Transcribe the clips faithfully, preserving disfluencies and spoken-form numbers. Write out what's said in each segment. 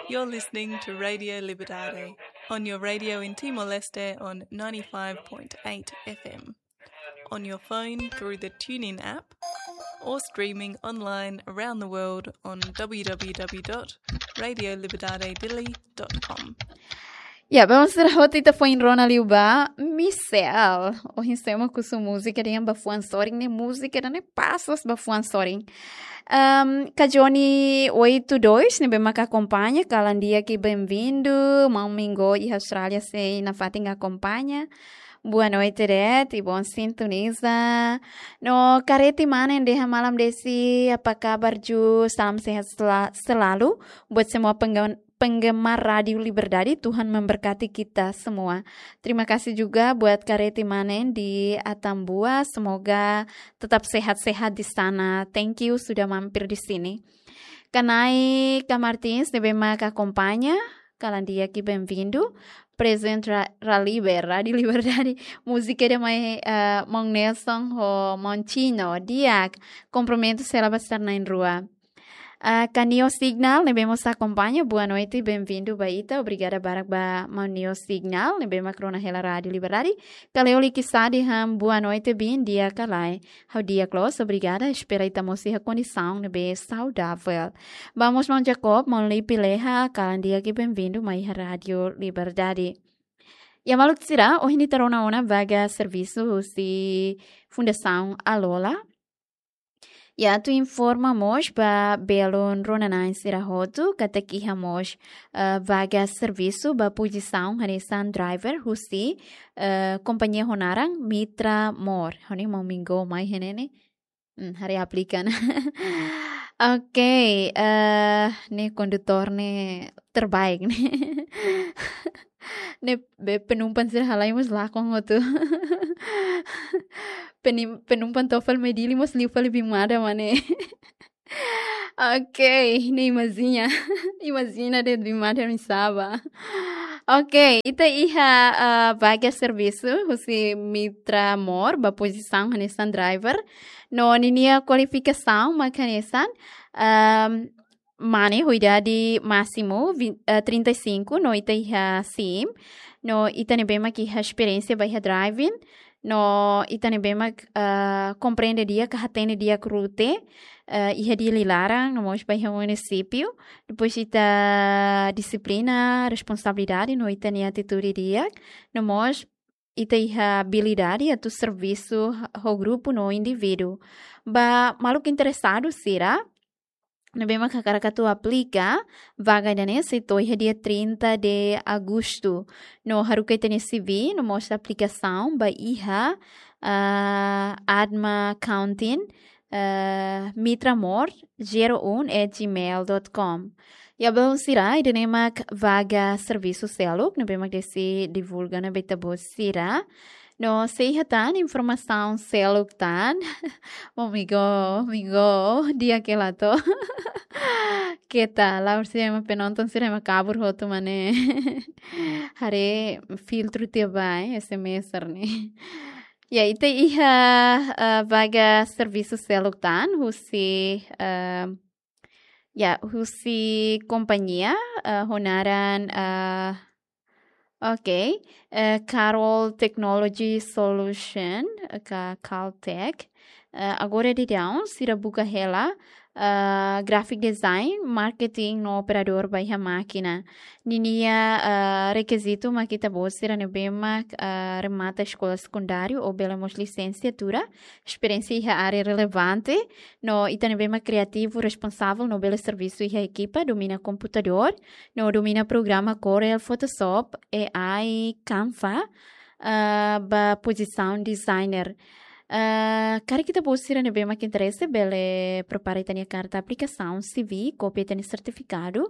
You're listening to Radio Liberdade on your radio in Timor-Leste on ninety-five point eight F M, on your phone through the TuneIn app, or streaming online around the world on w w w dot radio liberdade dili dot com. Ya, bem, sira hotu ita foin rona liu ba Michelle. Ohin sema ku su múzika dehan ba fuan sorin, ne'e múzika ida-ne'e pas loos ba fuan sorin. Um, Kajoni oito dois, ne'ebé mak akompaña, kalan di'ak i bem-vindu. Maun Mingo iha Austrália sei nafatin akompaña. Boa noite, de'it, i bom sintoniza. No Kareti Manen dehan malam Desi, apa kabar Ju? Salam sehat sela-, selalu buat semua penggen-, penggemar Rádio Liberdade, Tuhan memberkati kita semua. Terima kasih juga buat Kareti Manen di Atambua, semoga tetap sehat-sehat di sana. Thank you sudah mampir di sini. Kanai Ka Martins, ne'ebé mak akompaña, kalan di'ak i bem-vindu. Prezente Ra-, Raliber, Rádio Liberdade, múzika ida mai, eh, Maun Nelson ho Maun Chino, di'ak, kompromitu sela ba sarna'in rua. Ah, Ka Neo Signal, ne'ebé mós akompaña, boa noite, bem-vindu ba ita, obrigada barak ba Maun Neo Signal, ne'ebé mak rona hela Rádio Liberdade. Ka Leo Likisade dehan boa noite, bin, di'ak ka lae? Ha'u di'ak loos, obrigada, espera ita mós iha kondisaun ne'ebé saudavel. Ba mós Maun Jacob, Maun Lipi Leha, kalan di'ak i bem-vindu mai iha Rádio Liberdade. Ya maluk sira, ohin ita rona ona vaga servisu husi Fundasaun Alola. Ya, atu informa mós ba belun rona-na'in sira hotu, katak iha mós, eh, vaga servisu ba pozisaun hanesan driver husi, eh, kompañia ho naran Mitra Mor. Ha'u-nia maun Mingo mai iha ne'e ne'e. Hmm, haree aplika ona. Oke, eh, ne'e kondutór ne'e terbaik ne'e. Ne'e be penumpang sira halai mós lakon hotu. Penim-, penumpang to'o fali mai Dili mós liu fali biin mada mak ne'e. Oke, ne'e imajina. Imajina de'it biin mada oinsá ba. Oke, ita iha, eh, vaga servisu husi Mitra Mor ba pozisaun hanesan driver. No ninia kualifikasaun mak hanesan, ehm, mane ho idade másimu vin-, eh, trinta e cinco, no ita iha sim, no ita ne'ebé mak iha esperiénsia ba iha driving, no ita ne'ebé mak, eh, komprende di'ak ka hatene di'ak rute, eh, iha Dili laran, no mós ba iha munisípiu, depois ita dixiplina, responsabilidade, no ita-nia atitude di'ak, no mós ita iha abilidade atu servisu ho grupu no indivíduu. Ba maluk interesadu sira ne'ebé mak hakarak atu aplika, vaga ida-ne'e sei to'o iha dia trinta de agosto. No haruka ita-nia C V, no mós aplikasaun ba iha, ah, Adma Counting, eh, mitramor zero um at gmail dot com. Ya belun sira, ida-ne'e mak vaga servisu seluk ne'ebé mak Desi divulga ona ba ita-boot sira. No se iha tan informasaun seluk tan. Maun Mingo, Mingo, di'ak ka lae? Keta, la'ós ema penonton sira ema kabur hotu mak ne'e. Haree filtru tiha ba, eh, S M S ne'e. Ya, ita iha, eh, vaga servisu seluk tan, husi, eh, ya, husi kompañia, eh, ho naran, eh, oke, eh, Carol Technology Solution, eh, ka Caltech. Eh, agora daudaun, sira buka hela, eh, graphic design, marketing no operadór ba iha mákina. Ninia, eh, rekizitu mak ita-boot sira ne'ebé mak, eh, remata eskola sekundáriu ou bele mós lisensiatura, esperiénsia iha área relevante, no ita ne'ebé mak kriativu, responsavel, no bele servisu iha ekipa, domina komputadór, no domina programa Corel, Photoshop, A I, Canva, ah, ba pozisaun designer. Ah, karik ita-boot sira ne'ebé mak interese, bele prepara ita-nia karta aplikasaun, C V, kópia ita-nia sertifikadu,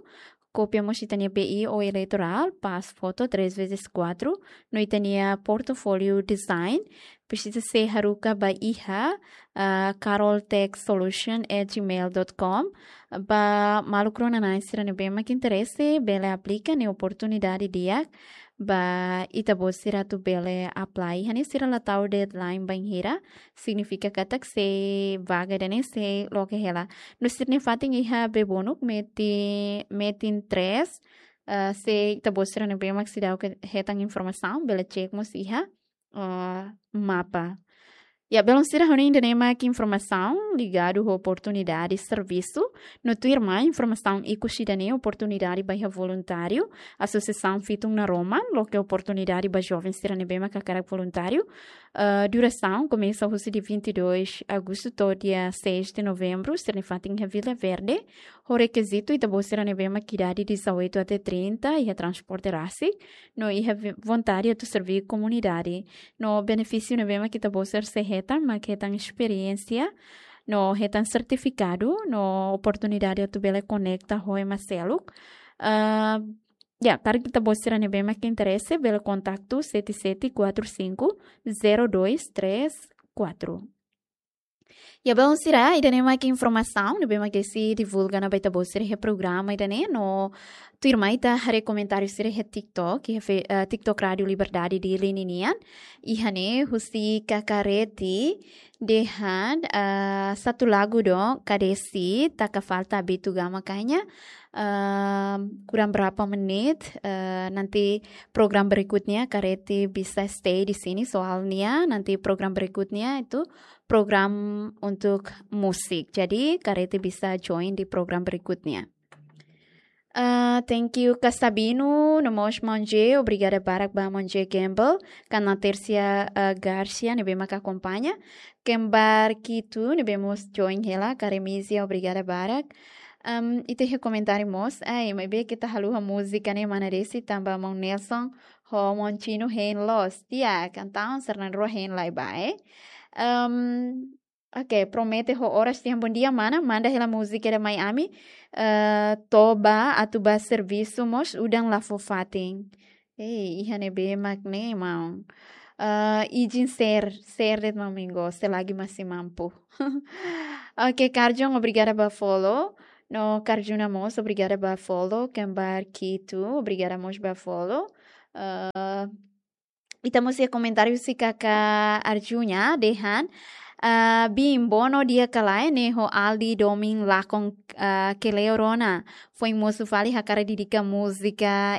kópia mós ita-nia B I ou eleitorál, pas foto três vezes quatro, no ita-nia portfólio design, presiza sei haruka ba iha, ah, caroltechsolution at gmail dot com. Ba maluk rona-na'in sira ne'ebé mak interese, bele aplika ne'e oportunidade di'ak ba ita-boot sira atu bele apply. Iha ne'e sira la tau deadline bainhira, signifika katak sei vaga ida-ne'e sei loke hela. No sira-nia fatin iha Bebonuk, metin, metin tres, ah, se ita-boot sira ne'ebé mak seidauk hetan informasaun, bele cek mós iha, ah, mapa. Ya, belun sira, hanoin ida-ne'e mak informasaun ligadu ho oportunidade servisu, no tuirmai informasaun ikus ida-ne'e oportunidade ba iha voluntáriu, asosiasaun Fitun Naroman, loke oportunidade ba joven sira ne'ebé mak hakarak voluntáriu. Ah, durasaun komesa husi dia vinte e dois agostu to'o dia seis de novembro, sira-nia fatin iha Vila Verde. Ho rekizitu, ita-boot sira ne'ebé mak idade dezoito até trinta, iha transporte rasik, no iha vi-, vontade atu serve komunidade. No benefísiu ne'ebé mak ita-boot sira sei hetan, mak hetan esperiénsia, no hetan sertifikadu, no oportunidade atu bele konekta ho ema seluk. Ah, ya, karik ita-boot sira ne'ebé mak interese, bele kontaktu sete sete quatro cinco zero dois três quatro. Ya, belun sira, ida-ne'e mak informasaun ne'ebé mak sei divulga ona ba ita-boot sira iha programa ida-ne'e, no tuirmai ita haree komentáriu sira iha TikTok, iha fe-, eh, TikTok Rádio Liberdade Dili ninian. Iha ne'e husi Kakareti dehan, eh, satu lagu dong, K D C, taka falta Abitu Gama Kanha. Eh, kurang berapa menit, eh, nanti program berikutnya Kareti bisa stay di sini, soalnya nanti program berikutnya itu program untuk musik. Jadi, Kareti bisa join di program berikutnya. Ah, thank you, Kak Sabino, no mós Maun J, obrigada barak ba Maun J Gamble, Kana Tersia, ah, Garcia, ne'ebé mak akompaña. Kembar Kitu, ne'ebé mós join hela, Karemisia, obrigada barak. Am, ita iha komentáriu mós, ai, maibé ita haluha múzika ne'e mana desi tanba Maun Nelson ho Maun Tino hein loos. Di'ak, entaun sira na'in-rua hein lai ba, eh. Am, oke, promete ho oras tiha. Bondia, mana, manda hela múzika ida mai ami. Eh, toba atu bá servisu mós udan la fó fatin. Ei, iha ne'ebé mak ne'e, maun. Eh, izin share, share de'it, maun Mingo, selagi masih mampu. Oke, Karjun, obrigada ba follow. No Karjuna mós, obrigada ba follow. Kembar Kitu, obrigada mós ba follow. Eh, ita mós iha komentáriu husi Kaka Arjuna, dehan, ah, Bim, bono dia kalai ne'e ho Aldi domin lakon, ah, keleo rona. Foin mosu fali hakarak dedika múzika